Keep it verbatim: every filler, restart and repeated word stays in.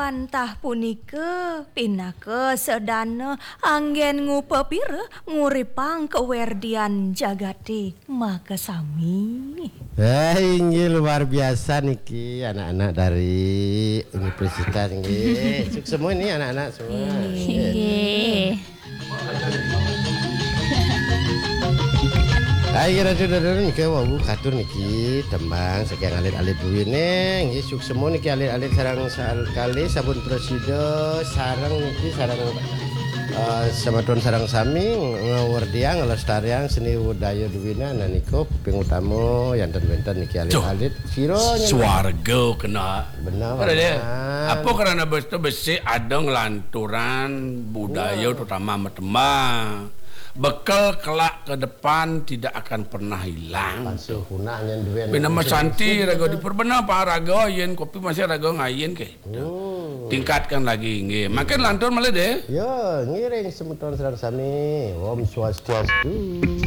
Antah punika pinaka sedana anggen ngupapira nguripang kawerdian jagaté makasami. Eh, inggih luar biasa niki anak-anak dari universitas nggih. Suksma ini anak-anak semua. Inggih. Inggih. Hai, Ratu Dadon, niki wau katur niki tembang saking alit-alit duwine, nggih suksma niki alit-alit sareng sal-, kalih sampun prasida sareng niki sareng, eh, semeton sareng sami ngawerdiang nglestariang seni budaya duwine, nah niku ping utama yanten wenten niki alit-alit. Sira nyen swarga kena. Benar, Ora deh. Apa karena besi, besi ada ngelanturan budaya terutama sama tembang. Bekal kelak ke depan tidak akan pernah hilang. Pasti punah nyen duwe. Bina masanti raga di perbenar pa raga yen kopi masih raga ngayen ke. Hmm. Tingkatkan lagi nggih. Makin lantur malah deh. Ya, ngiring semeton sareng sami. Om Swastiastu.